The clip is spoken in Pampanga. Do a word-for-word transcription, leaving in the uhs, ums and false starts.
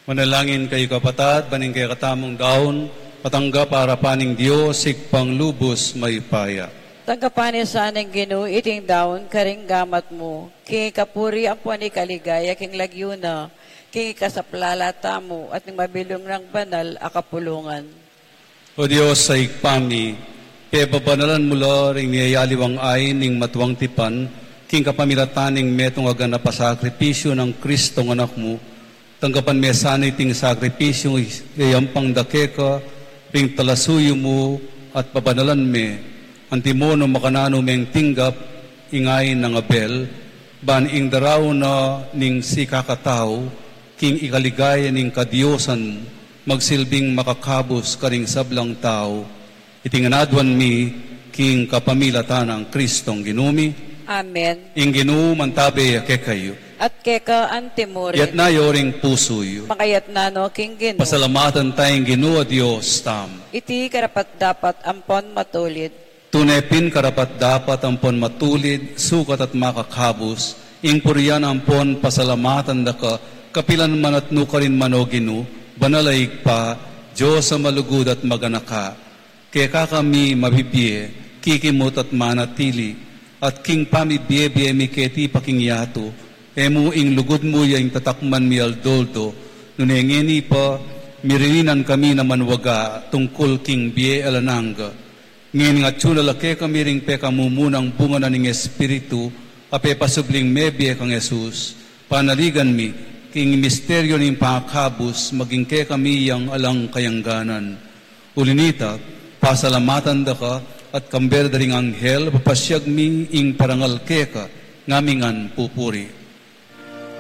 Manalangin kayu, kapatad, ban ing kekatamung daun, matanggap arapan ning Dios, Ibpang lubus mayupaya. Tanggapan na sana ning Ginu iting daun karing gamat mu, king ikapuri ampon ikaligaya king lagyu na, king ikasaplala tamu at ning mabilug nang banal a kapulungan. O Dios a Ibpa mi, pepabanalan mu la ring miyayaliwang ain ning matuang tipan, king kapamilatan ning metung a ganap a sakripisyu nang Kristong Anak mu, tanggapan me sana iting sakripisyung iyayampang da keka ring talasuyu mu at pabanalan me, antimo nung makananu meng tinggap ing ain nang Abel, ban ing daraun na ning sikakatau, king ikaligaya ning kadiosan mu, magsilbing makakabus karing sablang tau. Iti ngan aduan mi, king kapamilatan nang Kristong Ginu mi. Amen. Ing Ginu mantabe ya kekayu. At keka antimurin. Iyatas yu ring pusu yu. Makayatas no king Ginu. Pasalamatan taya ing Ginu a Dios tamu. Iti karapat-dapat ampon matulid. Tune pin karapat-dapat ampon matulid, sukat at makakabus, ing purian ampon pasalamatan da ka, kapilan man at nukarin man, o Ginu, banal a Ibpa, Dios a malugud at maganaka. Keka kami mabibie, kikimut at manatili, at king pamibie-bie mi keti pa king yatu, e mu ing lugud mu ya ing tatakman mi aldo-aldo, nune ngeni pa, miririnan kami na manwaga tungkul king bie alang angga. Ngeni atyu na la kekami ring pekamumunang bunga na ning Espiritu, a pepasubling mebie kang Jesus, panaligan mi, king misteryu ning pangakabus, maging kekami yang alang kayangganan. Uli na nita, pasalamatan da ka, at kambe da ring anghel, papasyag mi ing parangal keka, ngamingan pupuri.